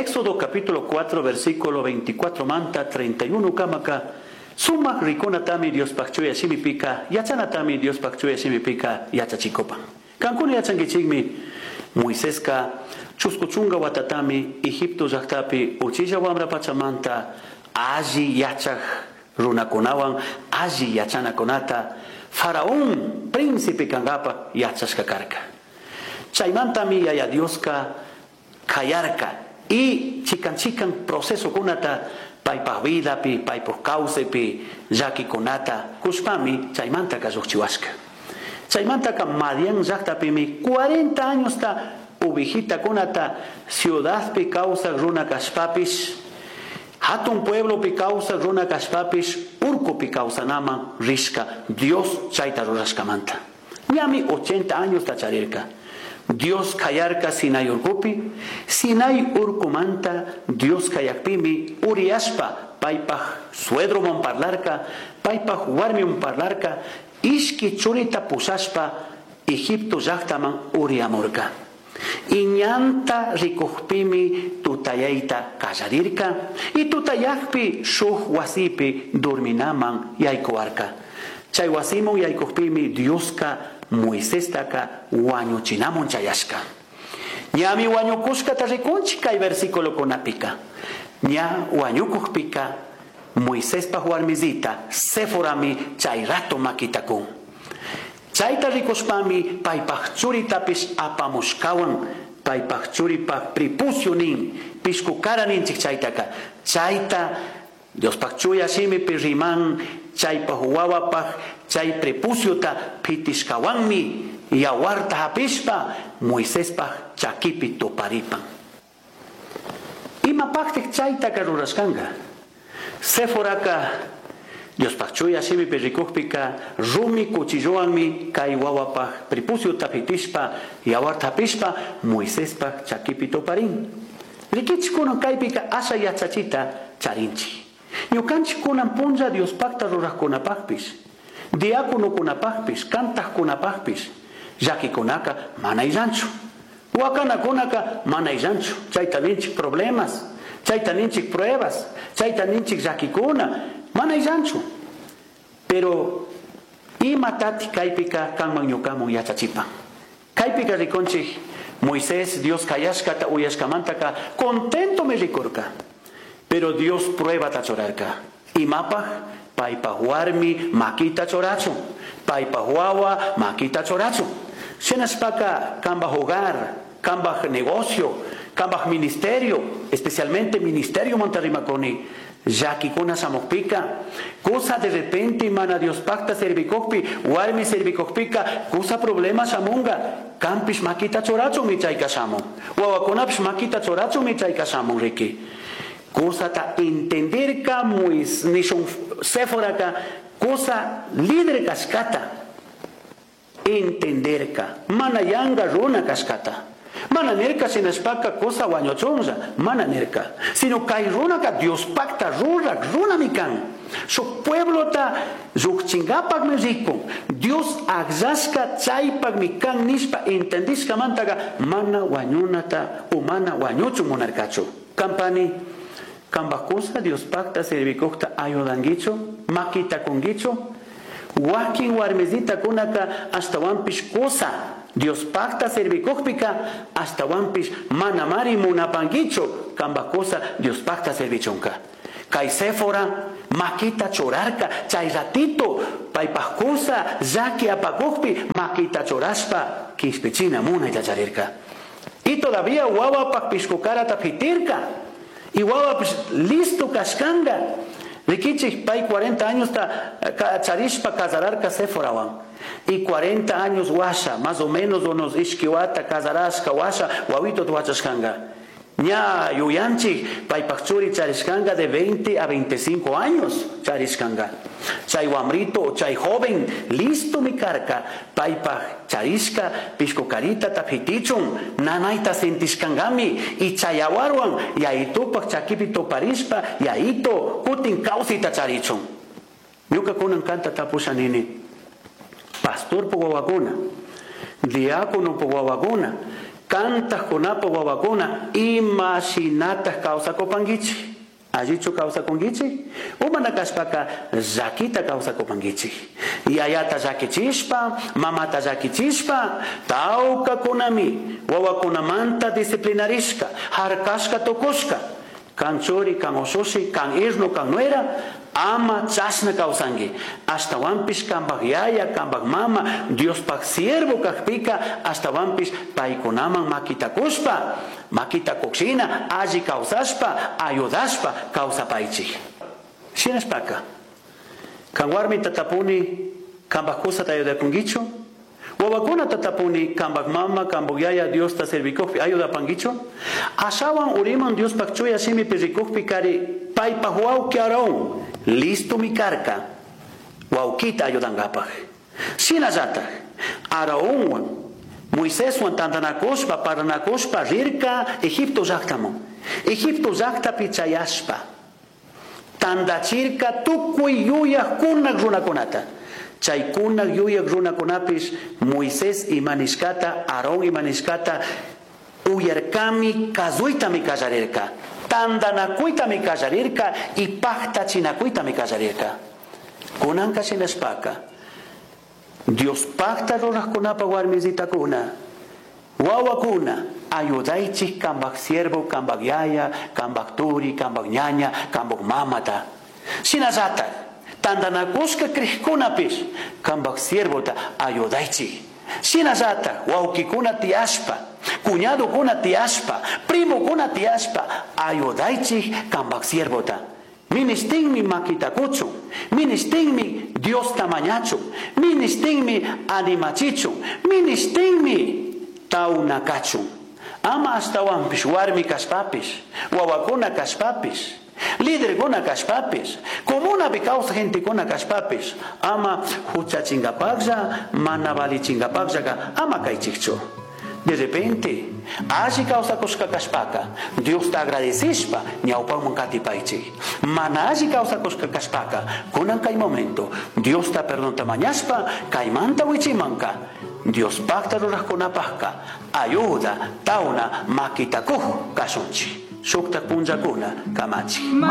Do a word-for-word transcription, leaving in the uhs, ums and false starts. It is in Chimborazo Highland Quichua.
Éxodo capítulo cuatro versículo veinticuatro manta treinta y uno kamaka sumak rikunatami Diospaj chuya shimipika yachanatami Diospaj chuya shimipika yachachikopan. Kankuna yachankichikmi Moiseska chusku chunka watatami Egipto llaqtapi uchilla wamra pachamanta alli yachaj runakunawan alli yachanakunata Faraón príncipe kankapa yachashka karka. Chaymantami Yaya Dioska kayarka y chikan chikan proceso kunata paypaj vidapi paypaj kawsaypi llakikunata kushpami chaymantaka lluqchiwashka. Chaymantaka Madián llaqtapimi cuarenta añosta uvijitakunata ciudadpi kawsaq runa kashpapish hatun pueblopi kawsaq runa kashpapish urkupi kawsanaman rishka Dios chayta rurashkamanta. Ñami ochenta añosta charirka. Dios kayarka Sinai urkupi, Sinai urkumanta Dios kayakpimi uriyashpa paypaj suedroman parlarka, paypaj warmiman parlarka, ishki churita pushashpa Egipto llaqtaman uriyamurka. Iñanta rikujpimi tutayayta kallarirka y tutayakpi shuj wasipi durminaman yaykuwarka. Chay wasiman yaykujpimi Dioska Moisestaka wañuchinamun chayashka. Ñami wañukushkata rikunchik kay versículo kunapika. Ña wañukujpika Moisespaj warmisita Séforami chay rato makitakun. Chayta rikushpami paypaj churitapish apamushkawan paypaj churipaj prepucio nin pishkukara ninchik chaytaka. Chayta Diospaj chuya shimipi riman chaypaj wawapaj chay prepuciota pitishkawanmi yawarta hapishpa Moisespaj chakipi tuparipan. Imapajtik chaytaka rurashkanka. Séforaka Diospaj chuya shimipi rikujpika rumi cuchillowanmi kay wawapaj prepuciota pitishpa yawarta hapishpa Moisespaj chakipi tuparin. Rikichik kunan kaypika asha yachachita charinchik. Ñukanchik kunan punlla Diospajta rurajkunapajpish, diáconokunapajpish, kantajkunapajpish, llakikunaka mana illanchu. Wakanakunaka mana illanchu. Chayta ninchik problemas, chayta ninchik pruebas, chayta ninchik llakikuna, mana illanchu. Pero imatati kaypika kanman ñukamun yachachipan. Kaypika rikunchik Moisés Dios kayashkata uyashkamantaka contento me rikurka. Pero Dios prueba ta chorarka. Imapaj paypaj warmi makita chorachun. Paypaj wawa makita chorachun. Shinashpaka kambaj hogar, kambaj negocio, kambaj ministerio, especialmente ministerio Monterrimakoni. Llakikuna shamukpika, kusa de repente mana Dios pacta servikojpi, warmi servikojpika, kusa problema shamunga, kampish makita chorachun michayka shamun, wawakunapish makita chorachun michayka shamun riki. Kusata entenderka muis nishun Séforaka kusa líder kashkata entenderka mana yanga runa kashkata mana nirka shinashpaka kusa wañuchunlla mana nirka sino kay runaka Dios pacta rurak runami kan su pueblota lluqchinkapaqmi rikun Dios akllashka chaypaqmi kan nishpa entendishkamantaka mana wañunata o mana wañuchun munarkachu. Kampani kambaj kusa Dios pacta servikujta ayudankichu makita kunkichu wakin warmisita kunaka ashtawanpish kusa Dios pacta servikujpika ashtawanpish manamari munapankichu kambaj kusa Dios pacta servichunka. Kay Séfora makita churarka chay ratito paypaj kusa llaki apakujpi makita churashpa kishpichina munayta charirka. Y todavía wawapaj pishkukarata pitirka. Y wawapish listo kashkanga. Rikichik pay cuarenta años ta charishpa casararka Séforawan. Y cuarenta años washa, más o menos unos ishkiwata casarashka washa, wawito wachashkanga. Ña yuyanchik paypaj churi charishkanga de veinte a veinticinco años charishkanga. Chay wamrito, chay joven, listo mi karka, paypaj charishka pishkukarita tapitichun, nanayta sentishkangami, y chayawarwan, yaitupaj chakipi tuparishpa, yaito kutin kawsita charichun. Ñuka kunan kanta tapusha nini, pastor po wawakuna, diácono po wawakuna, Cantajkunapa wawakuna ima shinataj kawsakupankichik? Allichu kawsakunkichik? O mana kashpaka llakita kawsakupankichik. Yayata llakichishpa, mamata llakichishpa, tawkakunami wawakunamanta disciplinarishka, harkashka tukushka. Kan churi, kan ushushi, kan irnu, kan nuera, ama chashna kawsanki. Ashtawanpish kanpak yaya, kanpak mama, Diospaj siervo kakpika, ashtawanpish paykunaman makita kushpa, makita kukshina, alli kawsashpa, ayudashpa kawsapaychik. Shinashpaka, kan warmita tapuni, kanpak kusata ayudakunkichu? Wawakunata tapuni, kanpak mama, kanpak yaya Diosta servikukpi ayudapankichu? Ashawan uriman Diospaj chuya shimipi rikukpi kari paypaj wawki Aarón, listomi karka, wawkita ayudankapaj. Shinallataj, Aarónwan, Moiseswan tantanakushpa, parlanakushpa rirka Egipto llaktaman. Egipto llaktapi chayashpa, tantachirka tukuy yuyaj kunak runakunata. Chay kunak yuyaj runakunapish Moisés imanishkata, Aarón imanishkata uyarkami, kazuytami kallarirka. Tantanakuytami kallarirka y paktachinakuytami kallarirka. Kunanka shinashpaka, Dios pakta rurajkunapa warmisitakuna, wawakuna, ayudaychik kanpak siervo, kanpak yaya, kanpak turi, kanpak ñaña, kanpak mamata. Shinallataj, tantanakushka crijkunapish kanpak siervota ayudaychik. Shinallataj, wawkikuna tiyashpa, cuñadokuna tiyashpa, primokuna tiyashpa, ayudaychik kanpak siervota. Ministinmi makita kuchun, ministinmi Diosta mañachun, ministinmi animachichun, ministinmi taunakachun. Ama ashtawanpish warmi kashpapish, wawakuna kashpapish, liderkuna kashpapish, comunapi kawsaj gentekuna kashpapish, ama huchachinkapaklla, mana valichinkapakllaka, ama kaychikchu. De repente, alli kawsakushka kashpaka, Diosta agradecishpa, ñawpaman katipaychik. Mana alli kawsakushka kashpaka, kunan kay momento, Diosta perdonta mañashpa, kaymanta wichimanka, Diospakta rurajkunapajka, ayuda, tawna, makitakuj kashunchik. Shuktak punllakuna kamachi.